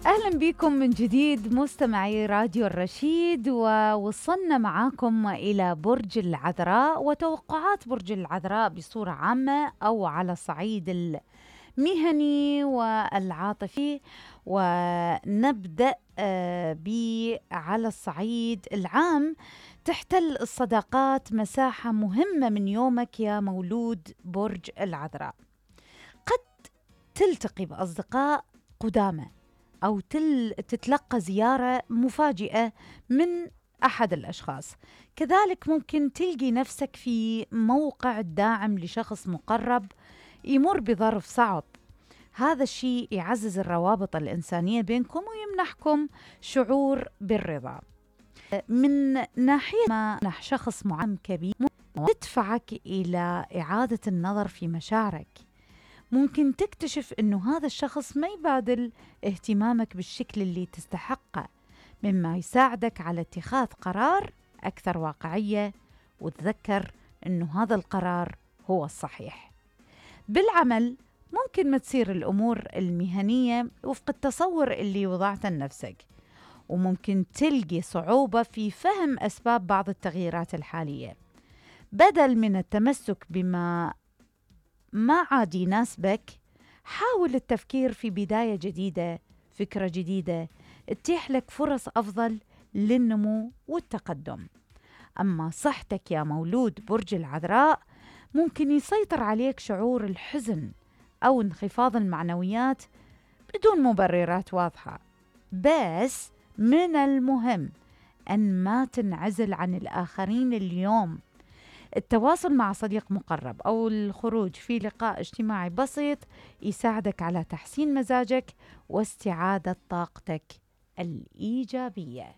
أهلا بكم من جديد مستمعي راديو الرشيد، ووصلنا معاكم إلى برج العذراء وتوقعات برج العذراء بصورة عامة أو على الصعيد المهني والعاطفي. ونبدأ على الصعيد العام. تحتل الصداقات مساحة مهمة من يومك يا مولود برج العذراء. قد تلتقي بأصدقاء قدامى أو تتلقى زيارة مفاجئة من أحد الأشخاص. كذلك ممكن تلقي نفسك في موقع داعم لشخص مقرب يمر بظرف صعب. هذا الشيء يعزز الروابط الإنسانية بينكم ويمنحكم شعور بالرضا. من ناحية ما نح شخص معين كبير تدفعك إلى إعادة النظر في مشاعرك. ممكن تكتشف أنه هذا الشخص ما يبادل اهتمامك بالشكل اللي تستحقه، مما يساعدك على اتخاذ قرار أكثر واقعية، وتذكر أنه هذا القرار هو الصحيح. بالعمل ممكن ما تصير الأمور المهنية وفق التصور اللي وضعته لنفسك، وممكن تلقي صعوبة في فهم أسباب بعض التغييرات الحالية. بدل من التمسك بما ما عاد يناسبك، حاول التفكير في بداية جديدة، فكرة جديدة تتيح لك فرص أفضل للنمو والتقدم. أما صحتك يا مولود برج العذراء، ممكن يسيطر عليك شعور الحزن أو انخفاض المعنويات بدون مبررات واضحة. بس من المهم أن ما تنعزل عن الآخرين اليوم. التواصل مع صديق مقرب أو الخروج في لقاء اجتماعي بسيط يساعدك على تحسين مزاجك واستعادة طاقتك الإيجابية.